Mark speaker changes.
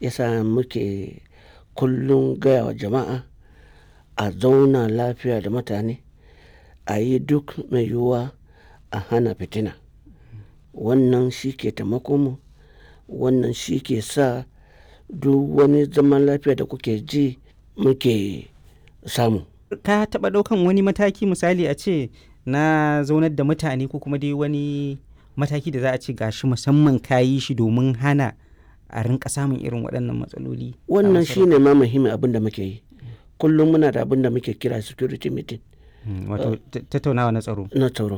Speaker 1: Yasa muke kullum gaya wa jama'a a zauna lafiya da mutane, a yi duk mai yiwuwa a hana fitina. Wannan shi ke taimakon mu, wannan shi ke sa duk wani zaman lafiya da kuke ji muke samu.
Speaker 2: Ka taɓa ɗaukan wani mataki, misali a ce na zaunar da mutane, ko kuma dai wani mataki da za a ce gashi musamman ka yi shi domin hana a rinka samun irin waɗannan matsaloli a
Speaker 1: Wannan shi
Speaker 2: masarautar?
Speaker 1: ne ma muhimmin abin da muke yi. Kullum muna da abin da muke kira security meeting.
Speaker 2: Wato tattaunawa na tsaro.
Speaker 1: Na tsaro.